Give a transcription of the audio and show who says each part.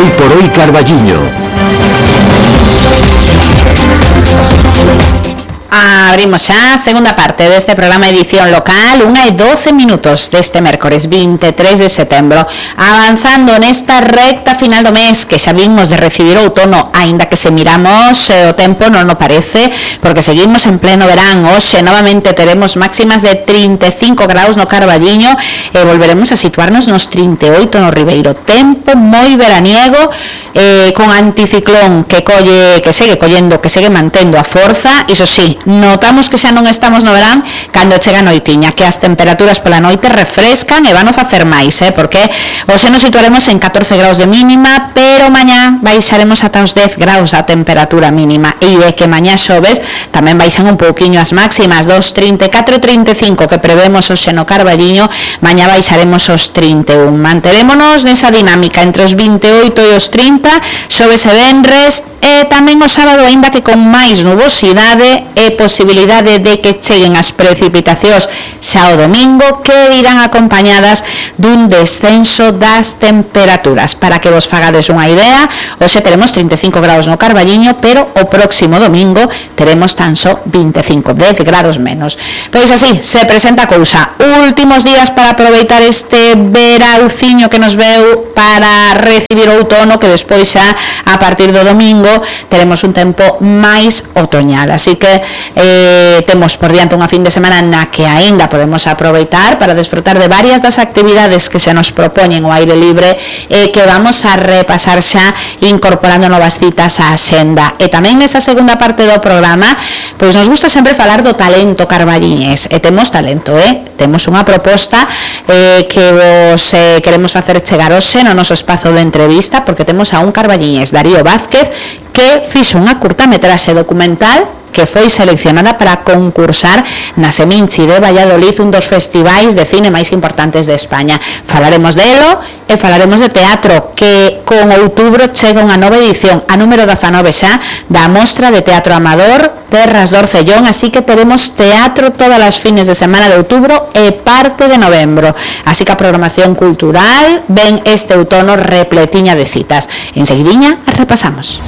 Speaker 1: Hoy por hoy Carballiño.
Speaker 2: Abrimos xa a segunda parte deste programa edición local, 1:12 deste mércores 23 de setembro, avanzando nesta recta final do mes que xa vimos de recibir outono, aínda que se miramos o tempo non o parece, porque seguimos en pleno verán. Hoxe novamente teremos máximas de 35 graus no Carballiño e volveremos a situarnos nos 38 no Ribeiro. Tempo moi veraniego, con anticiclón que segue collendo, que segue mantendo a forza. Iso sí, notamos que xa non estamos no verán cando chega a noitiña, que as temperaturas pola noite refrescan e van a facer máis, porque hoxe nos situaremos en 14 graus de mínima, pero mañá baixaremos ata os 10 graus a temperatura mínima, e de que mañá xoves tamén baixan un pouquiño as máximas, dos 34 e 35 que prevemos hoxe no Carballiño, mañá baixaremos os 31. Manterémonos nesa dinámica entre os 28 e os 30, xoves e venres, e tamén o sábado, aínda que con máis nubosidade e posibilidade de que cheguen as precipitacións xa o domingo, que irán acompañadas dun descenso das temperaturas. Para que vos fagades unha idea, hoxe teremos 35 graus no Carballiño, pero o próximo domingo teremos tan só 25, 10 grados menos. Pois así se presenta a cousa. Últimos días para aproveitar este verauciño que nos veu para recibir o outono, que despois xa a partir do domingo teremos un tempo máis otoñal, así que temos por diante unha fin de semana na que aínda podemos aproveitar para desfrutar de varias das actividades que se nos propoñen ao aire libre, que vamos a repasar xa incorporando novas citas á axenda. E tamén nesa segunda parte do programa, pois nos gusta sempre falar do talento carballiñés, e temos talento, temos unha proposta que vos queremos facer chegar hoxe no noso espazo de entrevista, porque temos a un carballiñés, Darío Vázquez, que fixo unha curtametraxe documental que foi seleccionada para concursar na Seminci de Valladolid, un dos festivais de cine máis importantes de España. Falaremos delo e falaremos de teatro, que con outubro chega unha nova edición, a número 19 xa, da Mostra de Teatro Amador Terras do Orcellón, así que teremos teatro todas as fines de semana de outubro e parte de novembro. Así que a programación cultural ven este outono repletiña de citas. Enseguidiña as repasamos.